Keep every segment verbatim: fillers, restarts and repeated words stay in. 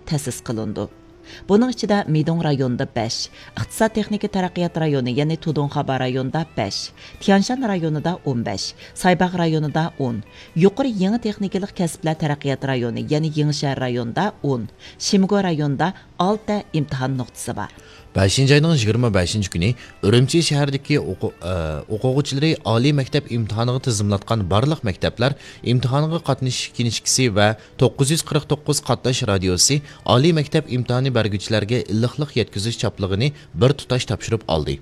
تەسىس قىلىنىدۇ. بۇنىڭ ئىچىدە مىدۇڭ رايونىدا بەش، ئىقتىساد تېخنىكا تەرەققىيات رايونى، يەنى تۇدۇڭخابا رايونىدا بەش، تيەنشان رايونىدا ئون بەش، سايباغ رايونىدا ئون، يۇقىرى يېڭى تېخنىكىلىق كەسىپلەر تەرەققىيات رايونى، يەنى يېڭىشەھەر رايونىدا ئون، شىمگو رايونىدا ئالتە ئىمتىھان نۇقتىسى بار. بەشىنچى ئاينىڭ يىگىرمە بەشىنچى كۈنى ئۈرۈمچى شەھىرىدىكى ئوقۇ-، ئە، ئوقۇغۇچىلىرى ئالىي مەكتەپ ئىمتىھانىغا تىزىملاتقان بارلىق مەكتەپلەر ئىمتىھانغا قاتنىشىش كىنىشكىسى ۋە توققۇز يۈز قىرىق توققۇز قاتناش رادىيوسى ئالىي مەكتەپ ئىمتىھانى بەرگۈچىلەرگە ئىللىقلىق يەتكۈزۈش چاپلىقىنى بىر تۇتاش تاپشۇرۇپ ئالدى.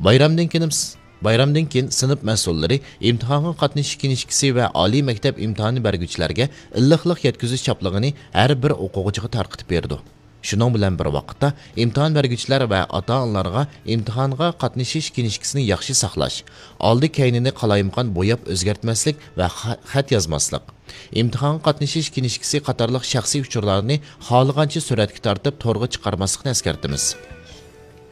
بايرامدىن كېيىن، بايرامدىن كېيىن سىنىپ مەسئۇللىرى ئىمتىھانغا قاتنىشىش كىنىشكىسى ۋە ئالىي مەكتەپ ئىمتىھانى بەرگۈچىلەرگە ئىللىقلىق يەتكۈزۈش چاپلىقىنى ھەر بىر ئوقۇغۇچىغا تارقىتىپ بېرىدۇ. شۇنىڭ بىلەن بىر ۋاقىتتا، ئىمتىھان بەرگۈچىلەر ۋە ئاتا-ئانىلارغا ئىمتىھانغا قاتنىشىش كىنىشكىسىنى ياخشى ساقلاش، ئالدى-كەينىنى قالايمىقان بوياپ ئۆزگەرتمەسلىك ۋە خە-، خەت يازماسلىق، ئىمتىھانغا قاتنىشىش كىنىشكىسى قاتارلىق شەخسىي ئۇچۇرلارنى خالىغانچە سۈرەتكە تارتىپ تورغا چىقارماسلىقنى ئەسكەرتىمىز.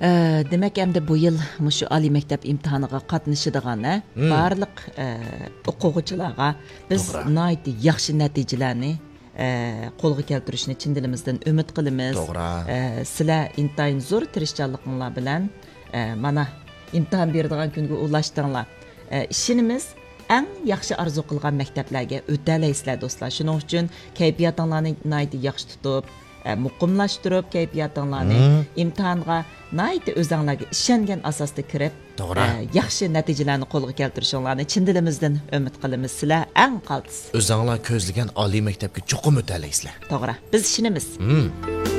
ئە، دېمەك، ئەمدى بۇ يىل مۇشۇ ئالىي مەكتەپ ئىمتىھانىغا قاتنىشىدىغان، ھە، مم. بارلىق، ئە، ئوقۇغۇچىلارغا بىز توغرا. ناھايىتى ياخشى نەتىجىلەرنى، ئە، قولغا كەلتۈرۈشنى چىن دىلىمىزدىن ئۈمىد قىلىمىز. توغرا. ئە، سىلەر ئىنتايىن زور تىرىشچانلىقىڭلار بىلەن، ئە، مانا، ئىمتىھان بېرىدىغان كۈنگە ئۇلاشتىڭلار. ئە، ئىشىنىمىز، ئەڭ ياخشى ئارزۇ قىلغان مەكتەپلەرگە ئۆتەلەيسىلەر، دوستلار. شۇنىڭ ئۈچۈن كەيپىياتىڭلارنى ناھايىتى ياخشى تۇتۇپ، ئە، مۇقىملاشتۇرۇپ كەيپىياتىڭلارنى، مم. ئىمتىھانغا ناھايىتى ئۆزەڭلارگە ئىشەنگەن ئاساستا كىرىپ، توغرا. ئە، ياخشى نەتىجىلەرنى قولغا كەلتۈرۈشۈڭلارنى چىن دىلىمىزدىن ئۈمىد قىلىمىز. سىلەر ئەڭ قالتىس. ئۆزەڭلار كۆزلىگەن ئالىي مەكتەپكە چوقۇم ئۆتەلەيسىلەر. توغرا. بىز ئىشىنىمىز. مم.